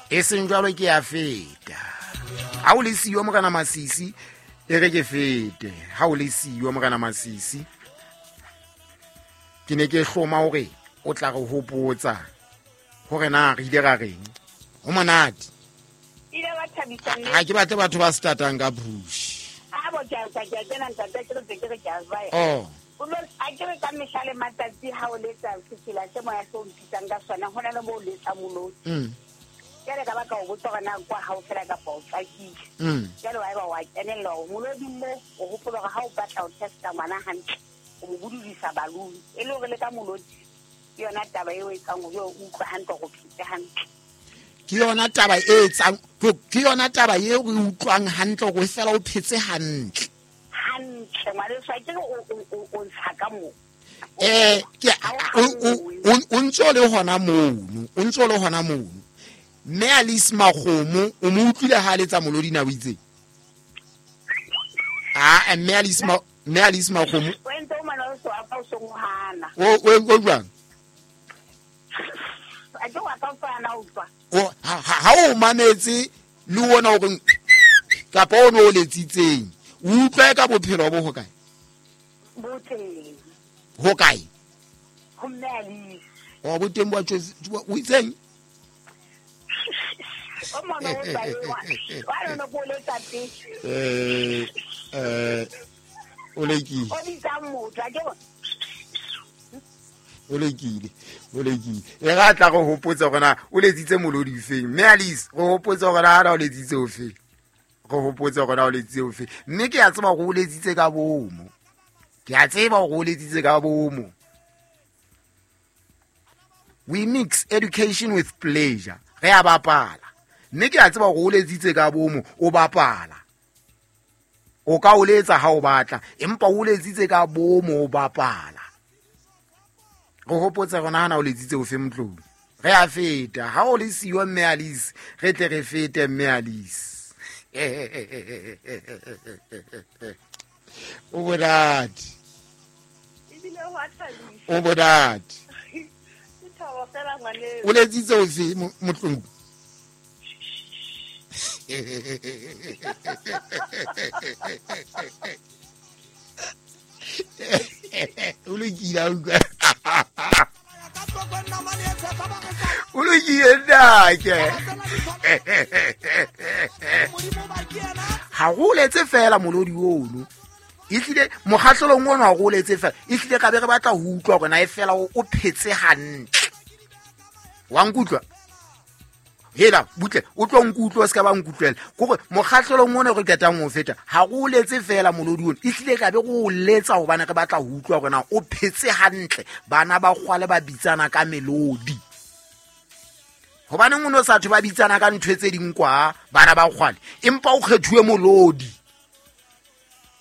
E seng jwalo ke ya feta. Ha o le siyo Morena Masisi, e re ke fete. Ha o le siyo Morena Masisi, ke ne ke hloma hore o tla re hopotsa hore na re ile ra reng. Ho monate. Ile wa thabisa mme. Ha ke batle batho ba startang ka push. A bo ke a ke a kena ntate ke re ke re ke a baya. Oh. O lo a ke re ka mehla le matsatsi ha o letsa sefela se moya se o mpitsang ka sona ho na le mo o letsa molodi. Jwale ka baka o botsa hore na kwa ha o fela kapa o tswakile. Jwale wa eba wa kenella hore molodi mo o hopola hore ha o batla ho testa ngwana hantle o mo budulisa balloon e le hore le ka molodi ke yona taba eo e etsang hore o utlwe hantle hore o phetse hantle. Ke yona taba e etsang, ke yona taba eo re utlwang hantle hore fela o phetse hantle. Hantle ngwaneso, a ke re o ntsha ka moo. Ke, o ntso le hona mono, o ntso le hona mono. Mme Alice Makgomo, o mo utlwile ha a letsa molodi na o itseng? Ah, mme Alice mme Alice Makgomo. O entse o mana o so apa o song hana. O jwang? A ke wa ka fana o utlwa. O, ha o mametse le ona o reng kapa o no o letsitseng, o utlwa ka bophelo bo hokae? Bo teng. Hokae? Ho mme Alice. O bo teng bo tjotsi, o itseng? O mona o tla ewa. Wa lona ko letsa teng. O lekile. O bitsa motho, a ke bo. O lekile, o lekile. E ra tla re hopotsa hore na o letsitse molodi ofeng. Mme Alice, re hopotsa hore na o letsitse ofeng. Re hopotsa hore na o letsitse ofeng. Mme ke a tseba hore o letsitse ka bomo. Ke a tseba hore o letsitse ka bomo. We mix education with pleasure. Re a bapala. Mme ke a tseba hore o letsitse ka bomo, o bapala. O ka o letsa ha o batla, empa o letsitse ka bomo o bapala. Re hopotsa hore na o letsitse ofe motlong. Re a feta. Ha o le siyo mme Alice, re tle re fete mme Alice. O monate. Ebile ho a thabisa. O monate. Ke thabo fela ngwaneso. O letsitse ofe motlong? O lokile a utlwa. O lokile nnake. Ha go letse fela molodi ono. Ehlile mokgahlelong ono ha go letse fela. Ehlile ka be re batla ho utlwa hore na e fela o phetse hantle. Wa nkutlwa? Hela, butle, o tlo nkutlwa, o se ka ba nkutlwela. Ke hore mokgahlelong ono re qetang ho feta, ha go letse fela molodi ono. Ehlile ka be go letsa hobane re batla ho utlwa hore na o phetse hantle. Bana ba kgwale ba bitsana ka melodi. Hobaneng o no sa thwe ba bitsana ka ntho tse ding kwa, bana ba kgwale, empa o kgethuwe molodi.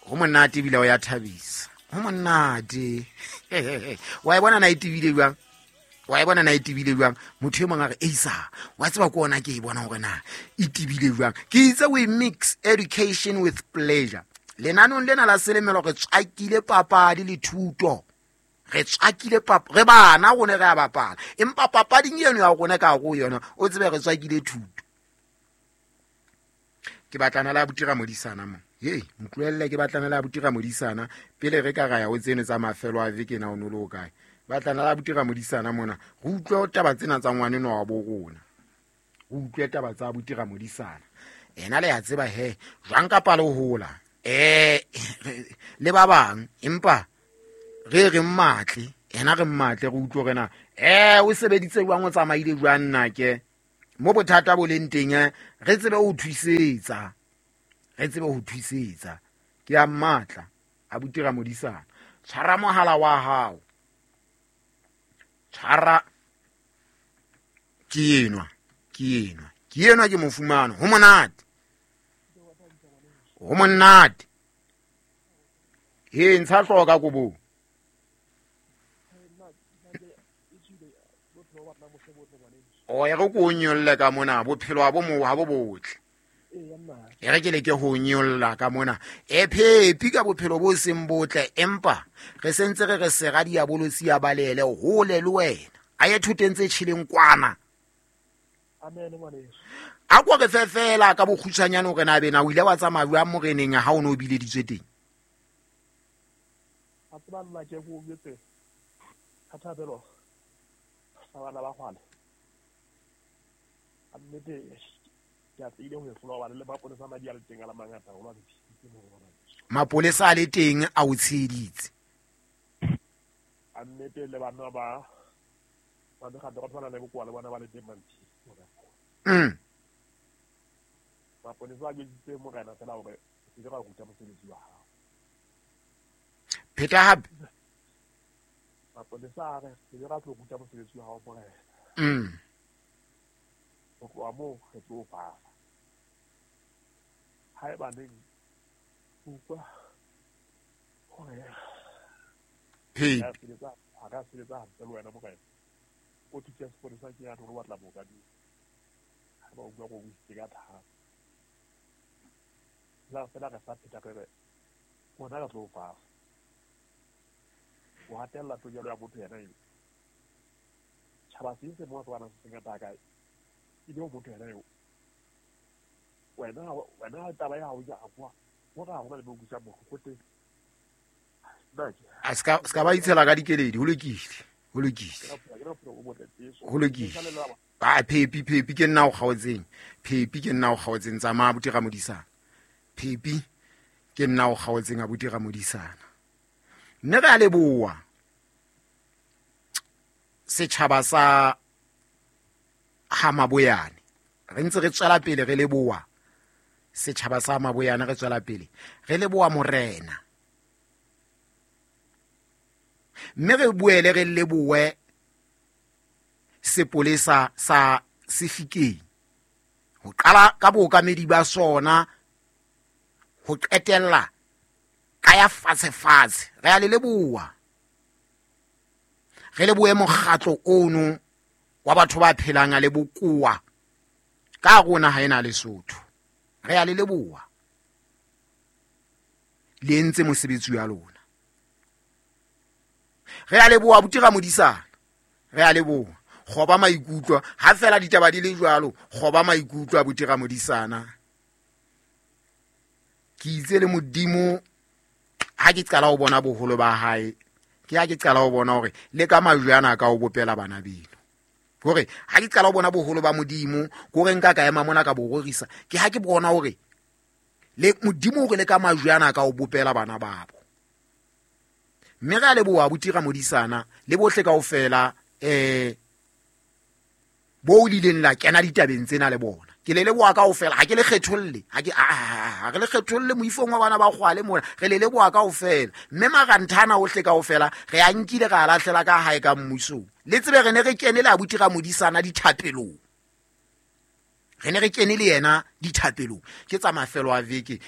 Ho monate ebile o ya thabisa. Ho monate. Wa e bona na e tebile jwang? Wa e bona na e tebile jwang? Motho e mong a re, Eisa, wa tseba ke ona ke e bona hore na e tebile jwang. Ke itse we mix education with pleasure. Lenanong lena la selemelo re tswakile papadi le thuto. Re tswakile re bana rona re a bapala. Empa papading eno ya rona ka hare ho yona, o tsebe re tswakile thuto. Ke batlana le abuti Ramodisana mo. Hei, ntlohelle ke batlana le abuti Ramodisana pele re ka ra ya ho tseno tsa mafelo a veke na o no le ho kae. Batlana le abuti Ramodisana mona, re utlwe taba tsena tsa ngwaneno wa bo rona. Re utlwe taba tsa abuti Ramodisana. Ena le ya tseba he, jwang kapa le hola. Le ba bang, empa re re mmatle, ena re mmatle re utlwe hore na, o sebeditse jwang, o tsamaile jwang nna ke. Mo bothata bo leng teng, re tsebe ho thusetsa. Re tsebe ho thusetsa. Ke a mmatla, abuti Ramodisana. Tshwara mohala wa hao. Tshwara. Ke enwa, ke enwa. Ke enwa ke mo fumana. Ho monate. Ho monate. He, ntsha hlooho ka kobong. O e re ko o nyolle ka mona, bophelo ha bo mo, ha bo botle. E re ke leke ho nyolla ka mona. E phepi ka bophelo bo seng botle, empa re sentse re re sera diabolosi ya balele hole le wena. A ye thoteng tse tjheleng kwana. Amen ngwaneso. A ko re fefela ka bokgutshwanyane hore na bena o ile wa tsamaya jwang moreneng ha o ne o bileditswe teng? A tseba nna ke go jwetse ka thapelo sa bana ba kgwale. A nnete ke a tsile ho e hlola hobane le mapolesa a madi a le teng a le mangata haholo a ntshitse mo ho bona. Mapolesa a le teng a o tsheheditse. A nnete le bana ba mekgatlo ka tshwana le bokowa le bona ba le teng ba ntshitse. Mapolesa a jwetsitse morena fela hore o se ke ra ruta mosebetsi wa hao. Pheta hape. Mapolesa a re se ke ra tlo ruta mosebetsi wa hao morena. Ho tloha moo re tlo bala. Haeba neng utlwa hore Phepi. ha ka sebetsa hantle le wena morena. O thutse sepolesa ke ya hore o batla mookamedi. Ha ba utlwa go buisitse ka thata. La fela re sa pheta re re rona re tlo bala. O hatella tokelo ya motho yena eo. Tjhaba se se mo se bana se sengata kae. Ebe o motho yena eo. Wena taba ya hao ya kwa. Ho ra hona le mo busa bohloko teng. A ska ba itshela ka dikeledi, ho lokile. Ho lokile. Ho lokile. Ba phepi phepi ke nna o kgaotseng. Phepi ke nna o kgaotseng tsamaya abuti Ramodisana. Phepi ke nna o kgaotseng abuti Ramodisana. Mme re a leboha setjhaba sa ha Maboyane. Re ntse re tswela pele re leboha setjhaba sa Maboyane, re tswela pele re leboha morena. Mme re boele re lebohe sepolesa sa Sefikeng ho qala ka bookamedi ba sona ho qetella ka ya fatshe fatshe. Re a le leboha. Re lebohe mokgatlo ono wa batho ba phelang a le bokowa ka rona ha ena Lesotho. Re a le leboha. Le entse mosebetsi wa lona. Re a leboha abuti Ramodisana. Re a leboha. Kgoba maikutlo ha fela ditaba di le jwalo, kgoba maikutlo abuti Ramodisana. Ke itse le Modimo ha ke qala ho bona boholo ba hae, ke ha ke qala ho bona hore le ka majwe ana ka o bopela bana beno. Hore ha ke qala ho bona boholo ba Modimo, ke hore nka ka ema mona ka bo rorisa, ke ha ke bona hore le Modimo hore le ka majwe ana ka o bopela bana babo. Mme re a leboha abuti Ramodisana le bohle kaofela bo lileng la kena ditabeng tsena le bona. Ke le leboha kaofela, ha ke le kgetholle, ha ke ha re le kgetholle moifong wa bana ba kgwale mona, re le leboha kaofela. Mme maranthana ohle kaofela re a nkile ra lahlela ka hae ka mmusong. Le tsebe re ne re kene le abuti Ramodisana dithapelong. Re ne re kene le yena dithapelong. Ke tsa mafelo a veke,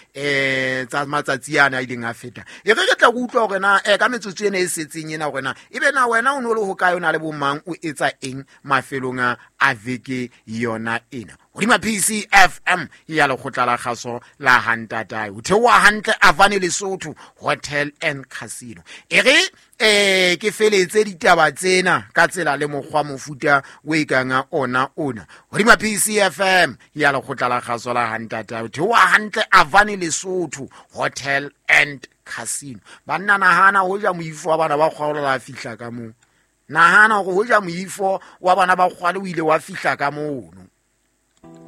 tsa matsatsi ana a ileng a feta. E re re tla go utlwa hore na ka metsotso ena e setseng ena hore na ebe na wena o no le hokae, o na le bomang, o etsa eng mafelong a veke yona ena. Hodima PCFM ya lekgotla la kgaso la Hantatae. Ho theoha hantle Avane Lesotho Hotel and Casino. E re ke feletse ditaba tsena ka tsela le mokgwa mofuta o e kang ona ona. Hodima PCFM ya lekgotla la kgaso la Hantatae. Ho theoha hantle Avane Lesotho Hotel and Casino. Banna nahana ho ja moifo wa bana ba kgwale la fihla ka moo. Nahana hore ho ja moifo wa bana ba kgwale o ile wa fihla ka mono.